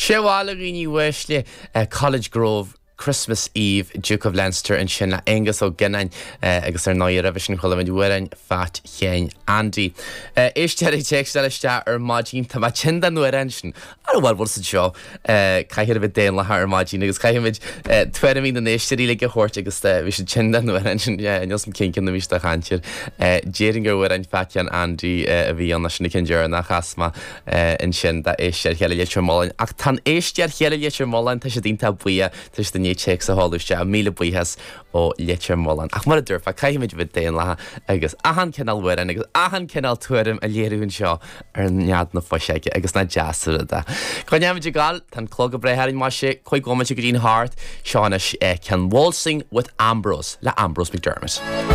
Sé bhail, a dhaoine uaisle, College Grove, Christmas Eve, Duke of Leinster ansin le Aengus Ó Gionnáin agus ar ndóigh roimhe sin chuala muid amhrán Phat Sheáin Andy. Éisteoir ag téacsáil isteach ar maidin, tá mé tinn den amhrán sin. Ara bhuel, bhfuil siad seo, caithfear a bheith daonlathach ar maidin agus caithfimid tuairimí na n-éisteoirí uilig a thabhairt agus bhí siad tinn den amhrán sin, níl 'fhios a'm cén ceann a bhí siad a chaint air. Déarfainn gur amhrán Phat Sheáin Andy a bhí ann, sin an ceann deireanach a chas mé. ansin d'éisteoir chéile Leitir Mealláin. Ach tá an éisteoir chéile Leitir Mealláin, tá siad iontach buíoch, tá siad i ndiaidh téacs a sheoladh isteach, míle buíochas ó Leitir Mealláin. Ach mar a dúirt mé, caithfimid a bheith daonlathach agus achan cineál amhráin agus achan cineál tuairim a léiriú anseo ar Nead na Fuiseoige agus nach deas an rud é. Go ndéanfaimid ag gabháil, tá an clog ag breith orainn, maise, 5 bhomaite go dtí'n hocht, seo anois ceann Waltzing with Ambrose le Ambrose McDermott.